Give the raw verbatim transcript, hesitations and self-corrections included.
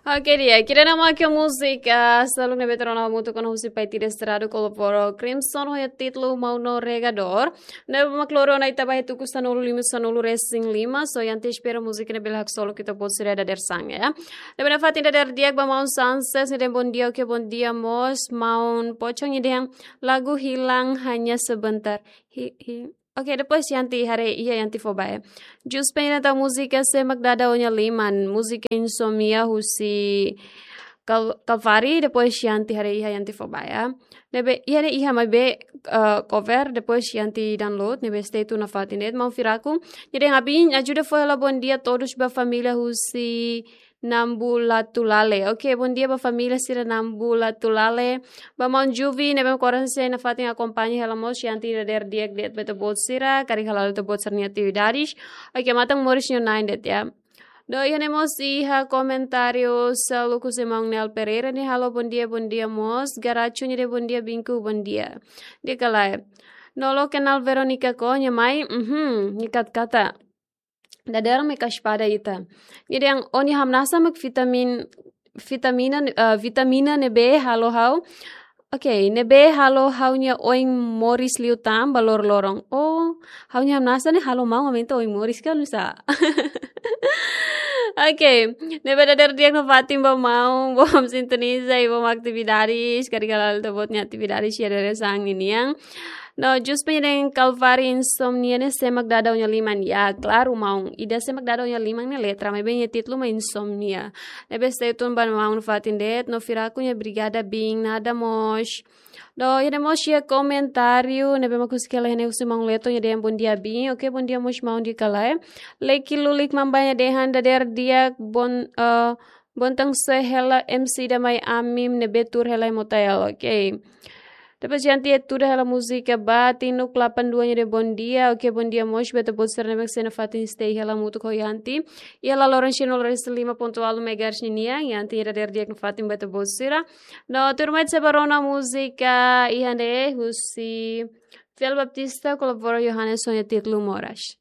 Oke, di'ak, ida-ne'e mak múzika, ah, seluk ne'ebé tuur ona hamutuk ona husi Paitida Estrada, kolabora Crimson, ho títulu Maun no Regador. Ne'ebé mak loro ona ita ba iha tuku sanulu lima, sanulu resin lima, so ita espera múzika ne'e bele haksolok ita-boot sira dadeer-saan, ya. Ne'ebé nafatin dadeer di'ak ba Maun Sanses, nia dehan bondia, oke, bondia mós, Maun Pocong nia dehan lagu Hilang Hanya Sebentar. Hi, hi. Oke, depois Yanti haree iha Yanti fó ba, ya. Jus Peña tau múzika Sé Mak Dada Ó-nia Liman, múzika Insomnia husi Kal-, Kalvari, depois Yanti haree iha Yanti fó ba, ya. Ne'ebé, iha ne'e iha maibé, eh, cover, depois Yanti download, ne'ebé stay tune nafatin de'it, Maun Firaku. Nia dehan abin, ajuda fó hela bondia todos ba família husi Nambulatulale. Oke, bondia ba família sira Nambulatulale. Ba Maun Juvi, ne'ebé koran sei nafatin akompaña hela mós Yanti dadeer di'ak de'it ba ita-boot sira, karik hala'o ita-boot sira-nia atividades. Oke, matan moris nia na'in de'it, ya. No iha ne'e mós iha komentáriu seluk husi Maun Nel Pereira nia halo bondia, bondia mós. Garachu nia dehan bondia Binku, bondia. Di'ak ka lae? No lo kenal Veronica Cunha mai, mhm, nia katak-katak. Dadeer mak espada ita. Nia dehan ó-nia hamnasa mak vitamin, vitamina, eh, vitamina ne'ebé halo ha'u. Oke, ne'ebé halo ha'u-nia oin moris liután ba loroloron. Oh, ha'u-nia hamnasa ne'e halo maun aumenta oin moris ka, nusá? Oke, ne'ebé dadeer di'ak nafatin ba maun, bom sintoniza i bom atividades, karik hala'o ita-boot nia atividades iha dadeer-saan ninian. No, Jus Peña dehan Kalvari Insomnia ne'e Sé Mak Dada Ó-nia Liman, ya, klaru maun. Ida Sé Mak Dada Ó-nia Liman ne'e letra, maibé nia títulu mak Insomnia. Ne'ebé stay tune ba maun nafatin de'it, no Firaku nia obrigada bin, nada mós. No, iha ne'e mós iha komentáriu, ne'ebé mak husik hela iha ne'e husi Maun Leto nia dehan bondia bin, oke, bondia mós maun, di'ak ka lae? Leki Lulik Mamba nia dehan dadeer di'ak bon, eh, bontanse hela M C ida mai ami ne'ebé tuur hela iha Motael, oke. Depois Yanti estuda hela múzika ba, Tinuk delapan dua nia dehan bondia, oke, bondia mós ba ita-boot sira ne'ebé sei nafatin stay hela hamutuk ho Yanti. Iha la Laurentino Lores lima ponto ualu megahertz ninian, Yanti nia dadeer di'ak nafatin ba ita-boot sira. No, tuirmai ita sei ba rona múzika iha ne'e husi Fiel Baptista, kolabora Johannes ho nia títulu Moras.